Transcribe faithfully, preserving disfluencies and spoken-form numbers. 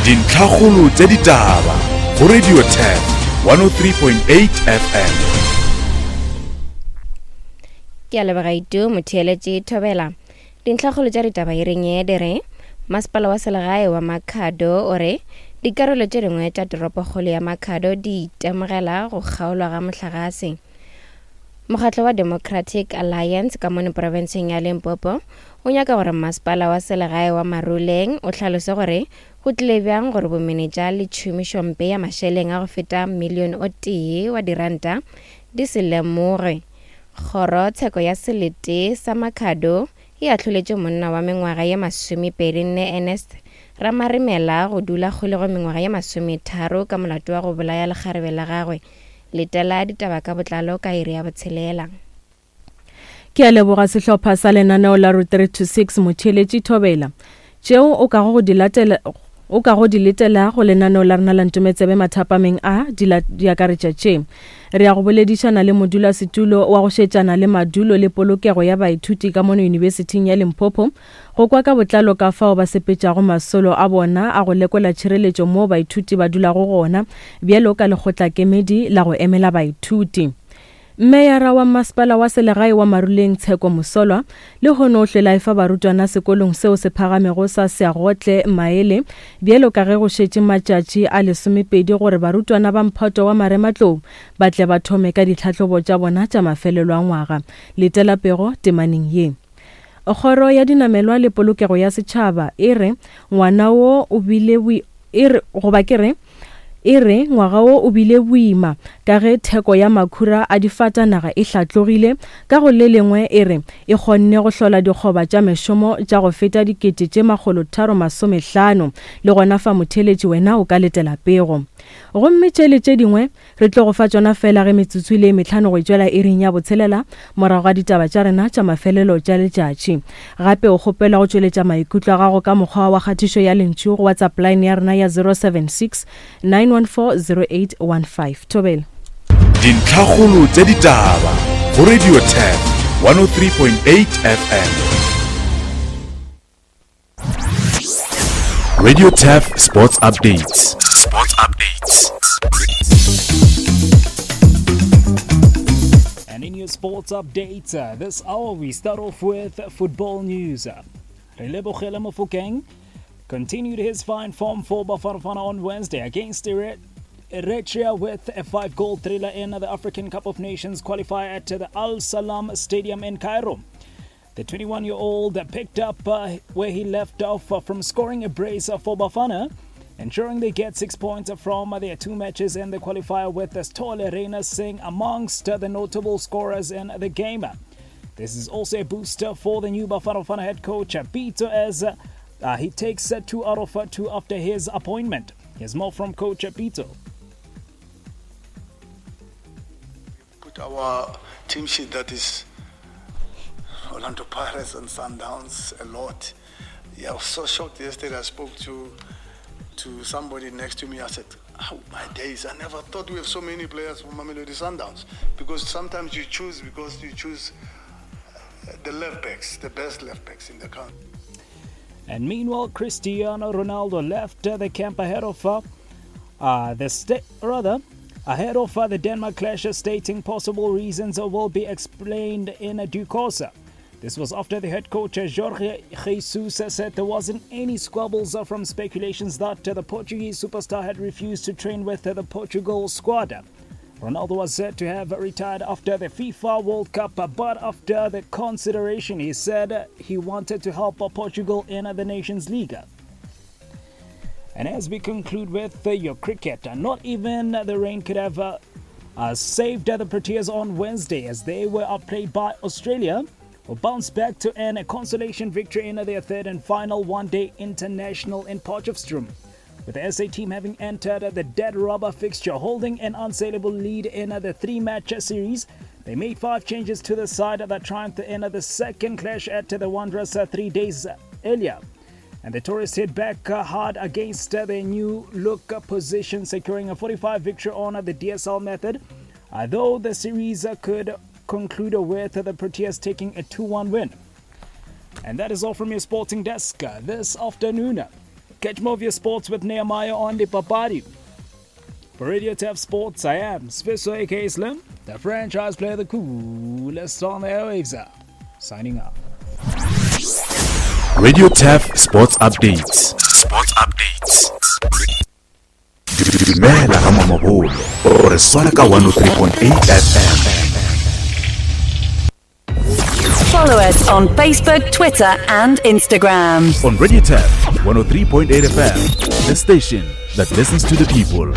Dintlhakgolo tša ditaba go Radio Turf one oh three point eight F M. Ke a leboga Itu motheeletše Thobela. Dintlhakgolo tša ditaba e reng ye di re Masepala wa selegae wa Makhado o re dikarolo tše dingwe tša toropokgolo ya Makhado di itemogela go kgaolwa ga mohlagase. Mokgatlo wa Democratic Alliance ka mono profenseng ya Limpopo o nyaka gore masepala wa selegae wa Maruleng o hlalose gore go tlile bjang gore bomenetša le tšhomišompe ya mašeleng a go feta milione o tee wa diranta di se lemoge. Kgoro tsheko ya selete sa Makhado e ahloletše monna wa mengwaga ye masomepedi nne Ernest Ramaremela go dula kgolego mengwaga ye masometharo ka molato wa go bolaya lekgarebe la gagwe. Letela ditaba ka botlalo ka iri ya botshelela. Ke a leboga sehlopha sa lenaneo la Route three two six motheeletši Thobela. Tšeo o kago go di latela o kago di letela go lenaneo la rena la Ntometsebe mathapameng a di di akaretša tše. Re ya go boledišana le modulasetulo wa go šetšana le madulo le polokego ya baithuti ka mono Yunibesithing ya Limpopo go kwa ka botlalo ka fao ba sepetšago masolo a bona a go lekola tšhireletšo moo baithuti ba dulago gona bjalo ka lekgotlakemedi la go emela baithuti. Meyara wa masepala wa selegae wa Maruleng Tsheko Mosolwa le hono o hlela efa barutwana sekolong seo se phagamego sa Seagotle Maele bjalo ka ge go šetše matšatši a lesomepedi gore barutwana ba mphato wa marematlou ba tle ba thome ka ditlhahlobo tša bona tša mafelelo a ngwaga. Letela pego temaneng ye. Kgoro ya dinamelwa le polokego ya setšhaba e re ngwana wo o bile e re goba ke re e re ngwaga wo o bile boima ka ge theko ya makhura a difatanaga e hlatlogile ka go le lengwe e re e kgonne go hlola dikgoba tša mešomo tša go feta dikete tše makgolo tharo masomehlano le gona fa motheeletši wena o ka letela pego. Gomme tše le tše dingwe re tlo go fa tšona fela ge metsotso le mehlano go tšwela iring ya botshelela morago ga ditaba tša rena tša mafelelo tša letšatši. Gape o kgopelwa go tšweletša maikutlo a gago ka mokgwa wa kgatišo ya lentšu go WhatsApp line ya rena ya zero seven six nine one four zero eight one five. Thobela. Dintlhakgolo tša ditaba go Radio Turf one oh three point eight F M. Radio Turf Sports Updates. Sports Updates. And in your sports updates, uh, this hour we start off with football news. Relebohile Mofokeng continued his fine form for Bafana Bafana on Wednesday against Eritrea with a five-goal thriller in the African Cup of Nations qualifier at the Al Salam Stadium in Cairo. The twenty-one-year-old picked up uh, where he left off uh, from scoring a brace for Bafana, ensuring they get six points from their two matches in the qualifier, with Stole Reina Singh amongst the notable scorers in the game. This is also a booster for the new Bafana Bafana head coach Pito as uh, he takes two out of two after his appointment. Here's more from Coach Pito. Put our team sheet that is Orlando Pirates and Sundowns a lot. Yeah, I was so shocked yesterday. I spoke to to somebody next to me. I said, oh, my days, I never thought we have so many players from Mamelodi Sundowns. Because sometimes you choose because you choose the left backs, the best left backs in the country. And meanwhile, Cristiano Ronaldo left the camp ahead of uh, uh, the sta- rather ahead of uh, the Denmark clash, stating possible reasons will be explained in due course. This was after the head coach Jorge Jesus said there wasn't any squabbles from speculations that the Portuguese superstar had refused to train with the Portugal squad. Ronaldo was said to have retired after the FIFA World Cup, but after the consideration, he said he wanted to help Portugal in the Nations League. And as we conclude with your cricket, not even the rain could have uh, saved the Proteas on Wednesday as they were outplayed by Australia, who bounced back to earn a consolation victory in their third and final one-day international in Potchefstroom, with the S A team having entered the dead rubber fixture, holding an unsaleable lead in the three-match series. They made five changes to the side that triumphed in the second clash at the Wanderers three days earlier. And the tourists hit back hard against their new look position, securing a forty-five victory on the D S L method, although the series could conclude with the Proteas taking a two one win. And that is all from your sporting desk this afternoon. Catch more of your sports with Nehemiah on the Papadi. For Radio Tap Sports, I am Sfiso aka Slim, the franchise player, the coolest on the airwaves. Signing off. Radio Tap Sports Updates. Sports Updates. Dumela ka mamabolo o re swara ka one oh three point eight F M. Follow us on Facebook, Twitter and Instagram. On Radio Tap one oh three point eight F M, the station that listens to the people.